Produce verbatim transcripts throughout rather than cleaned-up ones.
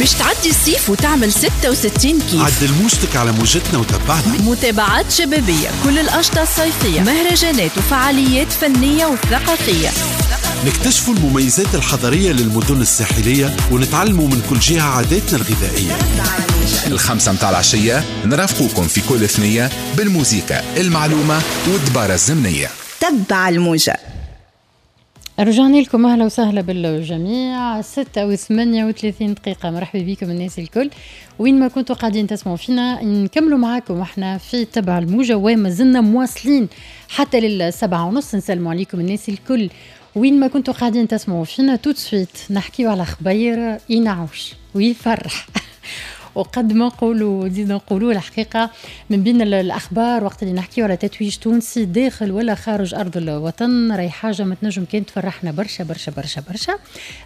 باش تعدي الصيف وتعمل ستة وستين كيف. عدل موجتك على موجتنا وتبعنا. متابعات شبابية، كل الأنشطة الصيفية، مهرجانات وفعاليات فنية وثقافية. نكتشفوا المميزات الحضرية للمدن الساحلية ونتعلموا من كل جهة عاداتنا الغذائية. الخمسة متاع العشية نرافقوكم في كل ثنية بالموسيقى، المعلومة والدبارة الزمنية. تبع الموجة. رجعنا لكم، اهلا وسهلا بالجميع. ستة وثمانية وثلاثين دقيقة، مرحبا بكم الناس الكل وين ما كنتوا قاعدين تسمعوا فينا. نكملوا معاكم احنا في تبع الموجة وما زلنا مواصلين حتى للسبعة ونص. نسلموا عليكم الناس الكل وين ما كنتوا قاعدين تسمعوا فينا. tout de suite نحكيو على خبير ينعوش ويفرح وقد ما نقولوا نزيد نقولوا الحقيقة من بين الاخبار وقت اللي نحكيو على تتويج تونسي داخل ولا خارج ارض الوطن، راهي حاجة ما تنجم كان تفرحنا برشا برشا برشا برشا.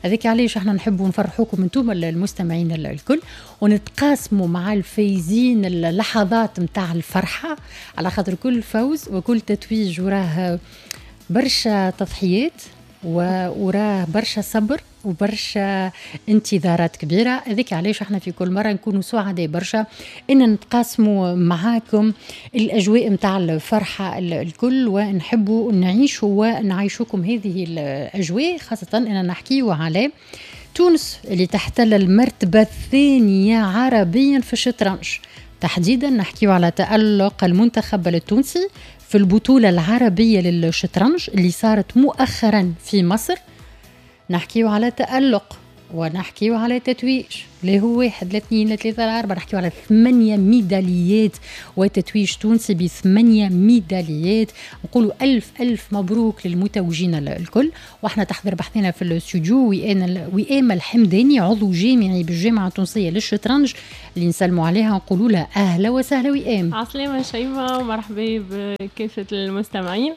هذاك علاش احنا نحبوا نفرحوكم انتم المستمعين الكل ونتقاسموا مع الفايزين اللحظات نتاع الفرحة، على خاطر كل فوز وكل تتويج وراه برشا تضحيات وراه برشا صبر وبرشا انتظارات كبيرة. هذيك علاش احنا في كل مرة نكونوا سعداء برشا ان نتقاسموا معاكم الاجواء نتاع الفرحة الكل، ونحبوا نعيشوا ونعيشوكم هذه الاجواء، خاصة ان نحكيو على تونس اللي تحتل المرتبة الثانية عربيا في الشطرنج. تحديدا نحكيو على تألق المنتخب التونسي في البطولة العربية للشطرنج اللي صارت مؤخرا في مصر. نحكيو على تألق ونحكيو على تتويج، لا هو واحد لا اثنين لا ثلاثة لا أربعة، نحكيو على ثمانية ميداليات وتتويج تونسي بثمانية ميداليات. نقولوا ألف ألف مبروك للمتوجين الكل. واحنا تحضر بحثنا في الاستوديو وئام الحمداني، عضو جامعي بالجامعة التونسية للشطرنج، اللي نسلموا عليها نقولوا لها أهلا وسهلا وئام. عسلامة شيماء ومرحبا بكافة المستمعين.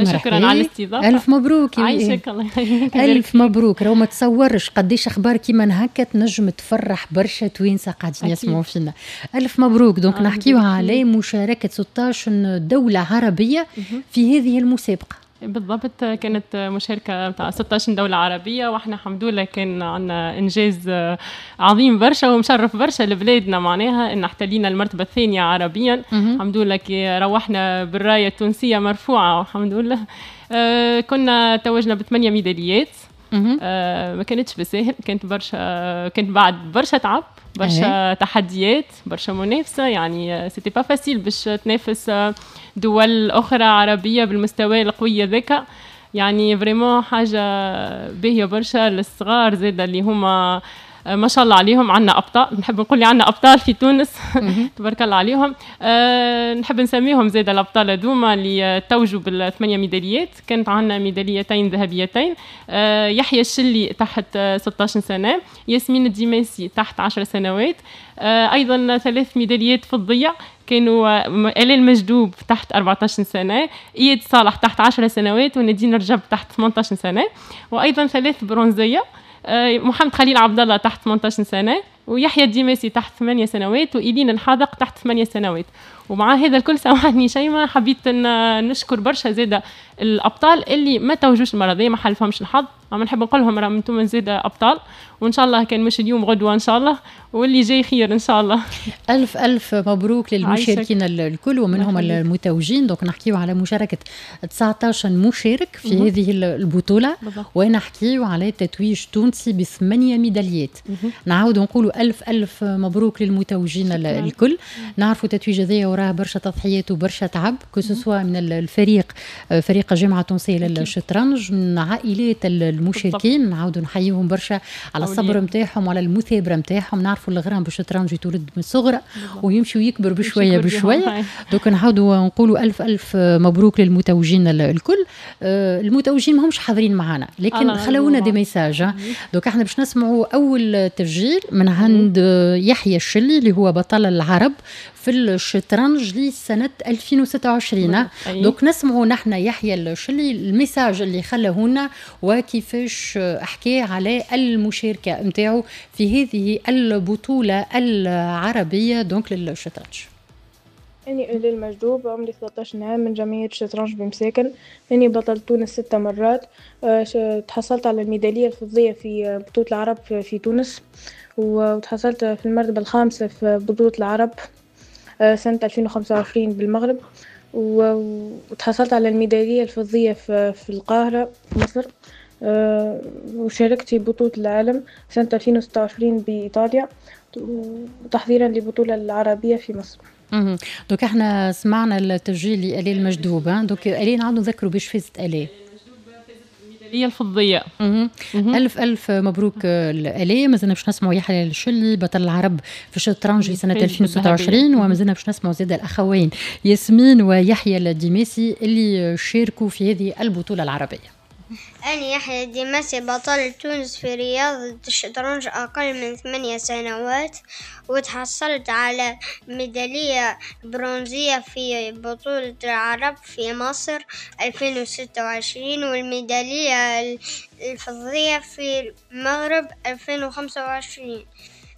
شكرا على الاستضافة. ألف مبروك يا وئام. عايشك الله يخليك. ألف مبروك. راهو ما تصورش قديش أخبار كيما هكا تنجم تفرح برشا توانسة قاعدين يسمعوا فينا. ألف مبروك. donc نحكيو على مشاركة ستة عشر دولة عربية في هذه المسابقة. بالضبط، كانت مشاركة تاع ستة عشر دولة عربية، واحنا الحمد لله كان عندنا إنجاز عظيم برشا ومشرف برشا لبلادنا، معناها إن احتلينا المرتبة الثانية عربيا. الحمد لله كي روحنا بالراية التونسية مرفوعة والحمد لله. آه كنا توجنا بثمانية ميداليات. آه ما كانتش بالساهل، كانت برشا، كانت بعد برشا تعب، برشا تحديات، برشا منافسة. يعني c'était pas facile باش تنافس دول أخرى عربية بالمستوى القوي ذاك. يعني vraiment حاجة باهية برشا للصغار زادة اللي هما ما شاء الله عليهم. عندنا أبطال، نحب نقول لي عندنا أبطال في تونس تبارك الله عليهم. أه نحب نسميهم زادة الأبطال هذوما اللي توجوا بالثمانية ميداليات. كانت عندنا ميداليتين ذهبيتين، أه يحيى الشلي تحت ستة عشر سنة، ياسمين الديماسي تحت عشر سنوات، أه أيضا ثلاث ميداليات فضية كانوا آلال مجدوب تحت أربعة عشر سنة، إياد صالح تحت عشر سنوات، وندين رجب تحت ثمانية عشر سنة، وأيضا ثلاث برونزية، محمد خليل عبد الله تحت ثمانية عشر سنة، ويحيى الديماسي تحت ثمانية سنوات، وإيلين الحاذق تحت ثمانية سنوات. ومع هذا الكل سامحني شيماء، حبيت ان نشكر برشا زاده الابطال اللي ما توجوش المرضية، ما حلفهمش الحظ. اما نحب نقول لهم راهم انتم زاده ابطال، وان شاء الله كان مش اليوم غدوه ان شاء الله، واللي جاي خير ان شاء الله. الف الف مبروك للمشاركين الكل ومنهم المتوجين. donc نحكيو على مشاركة تسعة عشر مشارك في مه. هذه البطولة، ونحكيو على تتويج تونسي بثمانية ميداليات. نعاود نقولوا الف الف مبروك للمتوجين الكل. نعرفوا تتويج هذايا وراه برشا تضحيات وبرشا تعب، que ce soit من الفريق، فريق الجامعة التونسية للشطرنج، من عائلات المشاركين. نعاودوا نحييهم برشا على الصبر نتاعهم وعلى المثابرة نتاعهم. نعرفوا الغرام بالشطرنج يتولد من الصغر ويمشي ويكبر بشوية بشوية. donc نعاودوا نقولوا الف الف مبروك للمتوجين الكل. المتوجين ماهمش حاضرين معنا، لكن خلونا des messages. donc احنا باش نسمعوا اول تسجيل من عند يحيى الشلي اللي هو بطل العرب في الشطرنج لسنة ألفين وستة وعشرين. donc نسمعوا نحن يحيى الشلي ال message اللي خلاه لنا وكيفاش حكى على المشاركة نتاعو في هذه البطولة العربية donc للشطرنج. أني آلاء المجدوب، عمري ثلاثة عشر عام، من جمعية شطرنج بمساكن. أني بطل تونس ستة مرات، تحصلت على الميدالية الفضية في بطولة العرب في تونس، وتحصلت في المرتبة الخامسة في بطولة العرب سنة ألفين وخمسة وعشرين بالمغرب، وتحصلت على الميدالية الفضية في القاهرة في مصر، وشاركت في بطولة العالم سنة ألفين وستة وعشرين بإيطاليا، وتحضيرا للبطولة العربية في مصر. اها donc احنا سمعنا التسجيل لآلاء المجدوب. donc آلاء نعاودوا نذكروا باش فازت آلاء. الميدالية الفضية. مه. ألف ألف مبروك آلاء. مازلنا باش نسمعوا يحيى الشلي بطل العرب في الشطرنج لسنة ألفين وستة وعشرين، ومازلنا باش نسمعوا زاد الأخوين ياسمين ويحيى الديماسي اللي شاركوا في هذه البطولة العربية. أنا يحيى الديماسي بطل تونس في رياضة الشطرنج أقل من ثمانية سنوات، وتحصلت على ميدالية برونزية في بطولة العرب في مصر ألفين وستة وعشرين، والميدالية الفضية في المغرب ألفين وخمسة وعشرين.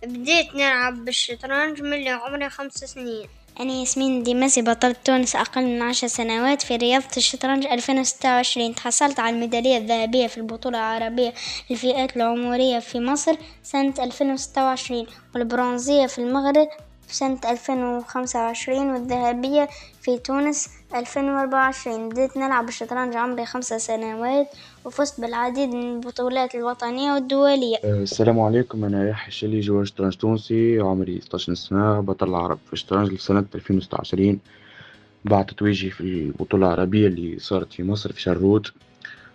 بديت نلعب بالشطرنج من عمري خمس سنين. أنا ياسمين ديماسي بطلة تونس أقل من عشر سنوات في رياضة الشطرنج ألفين وستة وعشرين، تحصلت على الميدالية الذهبية في البطولة العربية للفئات العمرية في مصر سنة ألفين وستة وعشرين، والبرونزية في المغرب سنة ألفين وخمسة وعشرين، والذهبية في تونس ألفين وأربعة وعشرين. بديت نلعب الشطرنج عمري خمسة سنوات، وفزت بالعديد من البطولات الوطنية والدولية. السلام عليكم، أنا يحيى الشلي، joueur شطرنج تونسي، عمري ستة عشر سنة، بطل العرب في الشطرنج لسنة ألفين وستة وعشرين بعد تتويجي في البطولة العربية اللي صارت في مصر في شروت.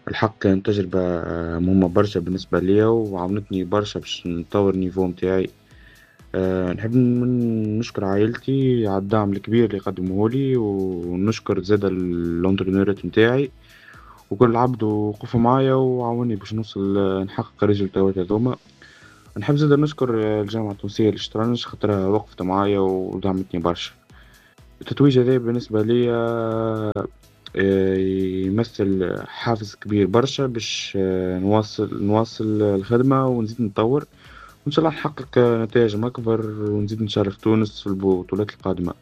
الحق كانت تجربة مهمة برشا بالنسبة ليا، وعاونتني برشا باش نطور ال niveau متاعي. أه نحب نشكر عائلتي على الدعم الكبير اللي قدموه لي، ونشكر زاد ال entraîneur ات نتاعي وكل عبد وقفوا معايا وعاوني باش نوصل نحقق résultat ات هذوما. نحب زاد نشكر الجامعة التونسية للشطرنج خاطرها وقفت معايا ودعمتني برشا. التتويج هذا بالنسبة لي يمثل حافز كبير برشا باش نواصل نواصل الخدمة ونزيد نطور، وإن شاء الله نحقق نتائج أكبر ونزيد نشرف تونس في البطولات القادمة.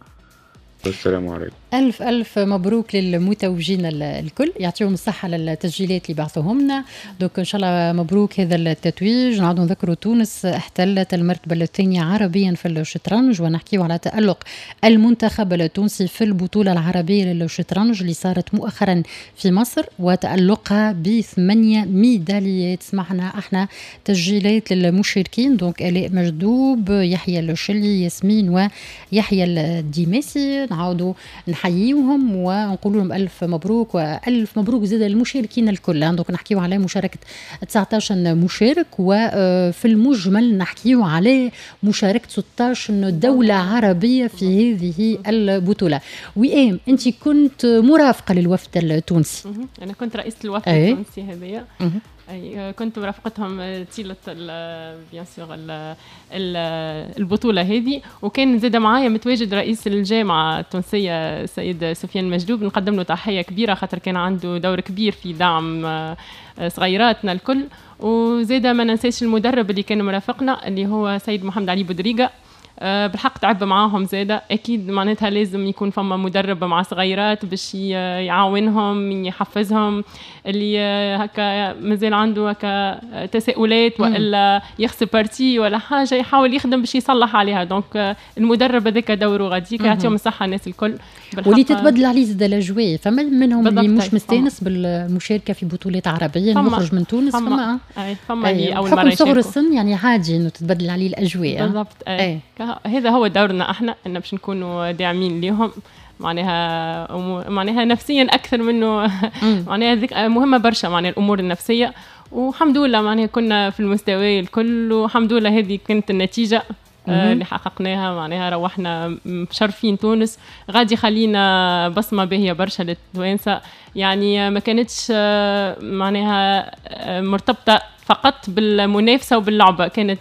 السلام عليكم. ألف ألف مبروك للمتوجين الكل، يعطيهم الصحة للتسجيلات اللي بعثوهم لنا. donc إن شاء الله مبروك هذا التتويج. نعاودوا نذكروا تونس احتلت المرتبة الثانية عربيا في الشطرنج، ونحكيو على تألق المنتخب التونسي في البطولة العربية للشطرنج اللي صارت مؤخرا في مصر وتألقها بثمانية ميداليات. سمعنا احنا تسجيلات للمشاركين، donc آلاء مجدوب، يحيى الشلي، ياسمين ويحيى الديماسي. نعاودوا نحييهم ونقول لهم ألف مبروك، وألف مبروك زاد المشاركين الكل. donc نحكيو على مشاركة تسعة عشر مشارك، وفي المجمل نحكيو على مشاركة ستة عشر دولة عربية في هذه البطولة. وئام، أنت كنت مرافقة للوفد التونسي. أنا كنت رئيسة الوفد التونسي هذايا. أي كنت مرافقتهم طيلة bien sûr البطولة هذه، وكان زاد معايا متواجد رئيس الجامعة التونسية السيد سفيان مجدوب، نقدم له تحية كبيرة خاطر كان عنده دور كبير في دعم صغيراتنا الكل. وزاد ما ننساش المدرب اللي كان مرافقنا اللي هو سيد محمد علي بودريقة، بالحق تعب معاهم زادة. أكيد معناتها لازم يكون فما مدرب مع صغيرات باش يعاونهم يحفزهم، اللي هكا مازال عنده هكا تساؤلات وإلا يخسر partie ولا حاجة يحاول يخدم باش يصلح عليها. donc المدرب هذاك دوره غاديك، يعطيهم الصحة الناس الكل. واللي تتبدل عليه زاد الأجواء، فما منهم اللي مش مستانس بالمشاركة في بطولات عربية يخرج من تونس، فما فما, فما اللي أول مرة صغر السن يعني عادي إنه تتبدل عليه الأجواء. بالضبط. أي. هذا هو دورنا احنا، ان باش نكونوا داعمين ليهم معناها معناها نفسيا اكثر منه معناها ذيك مهمة برشا معناها الامور النفسية. والحمد لله معناها كنا في المستوى الكل، والحمد لله هذه كانت النتيجة اللي حققناها. معناها روحنا مشرفين تونس، غادي خلينا بصمة باهيه برشا للتوانسه، يعني ما كانتش معناها مرتبطة فقط بالمنافسه وباللعبه، كانت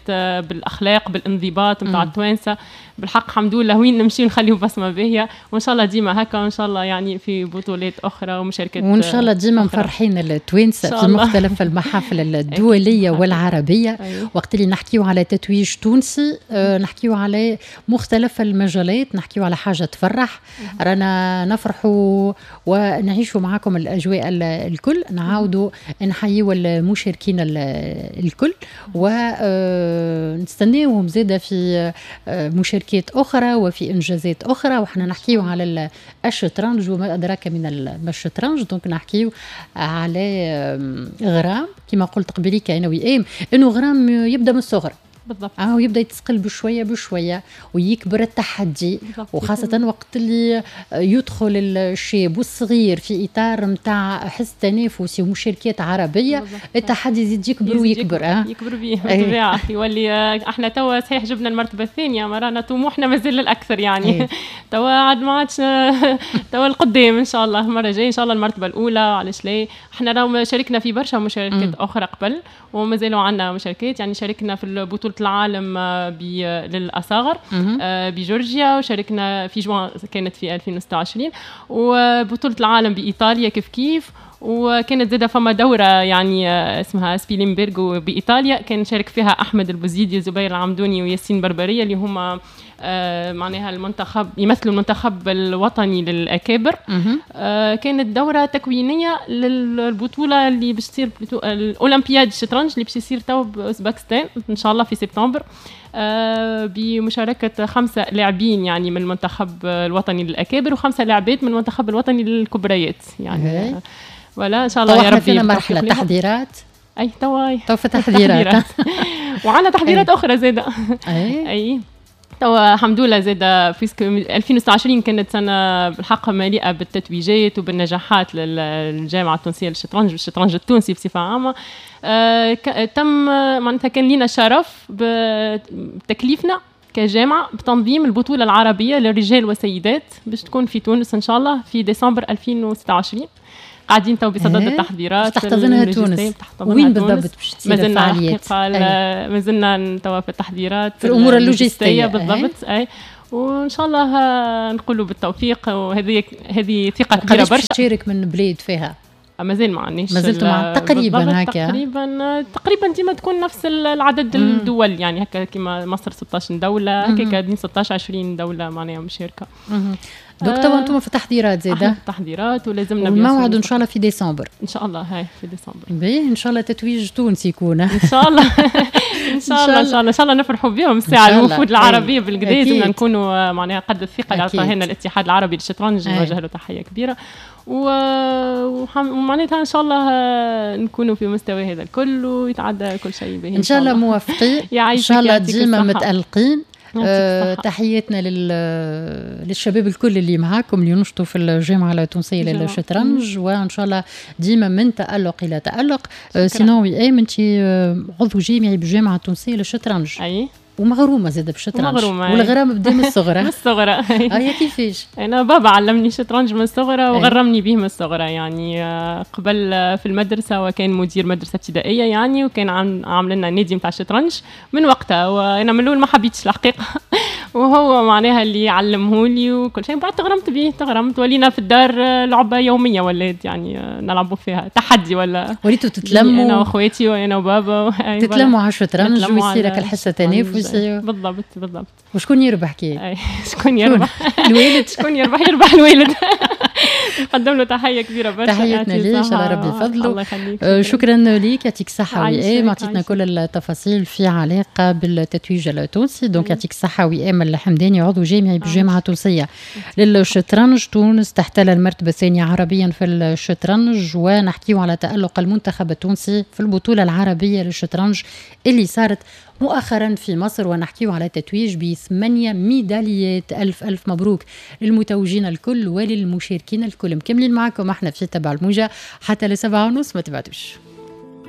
بالاخلاق بالانضباط نتاع التوانسة. بالحق الحمد لله وين نمشي نخليو بصمة باهيه، وان شاء الله ديما هكا، وان شاء الله يعني في بطولات اخرى ومشاركات، وان شاء الله ديما مفرحين التوانسة في مختلف المحافل الدولية والعربية. أيوه. وقت اللي نحكيو على تتويج تونسي آه نحكيو على مختلف المجالات، نحكيو على حاجة تفرح، رانا نفرحوا ونعيشوا معاكم الاجواء الكل. نعاودوا نحيوا المشاركين الكل ونستناوهم زاده في مشاركات أخرى وفي إنجازات أخرى. وحنا نحكيو على الشطرنج وما أدراك من الشطرنج، donc نحكيو على غرام كما قلت قبليك أنا وإيم، إنه غرام يبدأ من الصغر بالضبط، اه ويبدا يتسقل بشوية بشوية ويكبر التحدي، وخاصة وقت اللي يدخل الشاب والصغير في اطار نتاع حس تنافسي ومشاركات عربية، بالضبط. التحدي يزيد يكبر ويكبر، اه يكبر بيه بالطبيعة. يولي احنا توا صحيح جبنا المرتبة الثانية، ما رانا طموحنا مازال الاكثر يعني. توا عاد ما عادش توا القدام ان شاء الله، المرة الجاية ان شاء الله المرتبة الاولى، علاش لا. احنا راهو شاركنا في برشا مشاركات اخرى قبل ومازالوا عندنا مشاركات، يعني شاركنا في بطوله العالم للأصاغر بجورجيا، وشاركنا في جوان كانت في ألفين وستة وعشرين، وبطولة العالم بإيطاليا كيف كيف، وكانت زادة فما دورة يعني اسمها سبيلينبرغ بإيطاليا كان شارك فيها أحمد البوزيدي، زبير العمدوني، وياسين بربرية اللي هما آه معناها المنتخب، يمثلوا المنتخب الوطني للأكابر. آه كانت دورة تكوينية للبطولة اللي باش تصير الأولمبياد الشطرنج اللي باش يصير تو بأوزبكستان إن شاء الله في سبتمبر، آه بمشاركة خمسة لاعبين يعني من المنتخب الوطني للأكابر وخمسة لاعبات من المنتخب الوطني للكبريات يعني. ولا إن شاء الله يا ربي. فينا مرحلة تحضيرات. أي توا تو في تحضيرات وعندنا تحضيرات أخرى زادة. أي, أي. توا الحمد لله زاد puisque ألفين وستة وعشرين كانت سنة بالحق مليئة بالتتويجات وبالنجاحات للجامعة التونسية للشطرنج والشطرنج التونسي بصفة عامة. آه تم معناتها كان لنا شرف بتكليفنا كجامعة بتنظيم البطولة العربية للرجال والسيدات باش تكون في تونس إن شاء الله في ديسمبر ألفين وستة وعشرين. قاعدين تو بصدد التحضيرات. تحتضنها تونس. وين بالضبط باش تصير الفعاليات؟ مازلنا توا في التحضيرات، في الامور اللوجستية بالضبط. اي وان شاء الله نقولوا بالتوفيق، وهذه هذه ثقة كبيرة برشا. تشارك من بلاد فيها؟ مازال ما عندناش، مازلتوا مع تقريبا هكا تقريبا تقريبا ديما تكون نفس العدد الدول يعني هكا كيما مصر ستة عشر دولة، هكا ستة عشر عشرين دولة معناها مشاركة. donc توا انتم في تحضيرات زاده؟ في تحضيرات ولازمنا الموعد ان شاء الله في ديسمبر. ان شاء الله هاي في ديسمبر. باهي ان شاء الله تتويج تونسي يكون ان شاء الله. ان شاء الله ان شاء الله ان شاء الله نفرحوا بهم الساعة الوفود العربية بالقدا، لازمنا نكونوا معناها قد الثقة اللي عطاها لنا الاتحاد العربي للشطرنج، نوجه له تحية كبيرة، ومعناتها ان شاء الله نكونوا في مستوى هذا الكل ويتعدى كل شيء باهي ان شاء الله. موفقين ان شاء الله، ديما متألقين. أه تحياتنا لل... للشباب الكل اللي معاكم اللي ينشطوا في الجامعة التونسية للشطرنج، وإن شاء الله ديما من تألق إلى تألق. أه sinon وئام أنت عضو جامعي بالجامعة التونسية للشطرنج. أي ومغرومه زاده بالشطرنج. والغرام بدا من الصغرى. من الصغرى. اي كيفاش؟ انا بابا علمني الشطرنج من الصغرى وغرمني به من الصغرى يعني، قبل في المدرسة وكان مدير مدرسه ابتدائية يعني، وكان عامل لنا نادي نتاع الشطرنج من وقتها، وانا من الاول ما حبيتش الحقيقة وهو معناها اللي علمهولي وكل شيء. بعد تغرمت به، تغرمت ولينا في الدار لعبه يومية ولات يعني نلعبوا فيها تحدي، ولا وليتوا تتلموا انا واخواتي وانا وبابا تتلموا على الشطرنج ويصير لك الحصة تنافس. بالضبط بالضبط. وشكون يربح كي؟ شكون يربح؟ الوالد. شكون يربح؟ يربح الوالد. نقدم له تحية كبيرة برشا. تحياتنا ليه، ان شاء الله ربي يفضله. الله يخليك. شكرا ليك، يعطيك الصحة وئام، عطيتنا كل التفاصيل في علاقة بالتتويج التونسي. donc يعطيك الصحة وئام الحمداني، عضو جامعي بالجامعة التونسية للشطرنج. تونس تحتل المرتبة الثانية عربيا في الشطرنج، ونحكيو على تألق المنتخب التونسي في البطولة العربية للشطرنج اللي صارت مؤخرا في مصر، ونحكيو على تتويج بثمانية ميداليات. ألف ألف مبروك للمتوجين الكل وللمشاركين الكل. مكملين معكم احنا في تبع الموجة حتى لسبعة ونص، ما تبعدوش.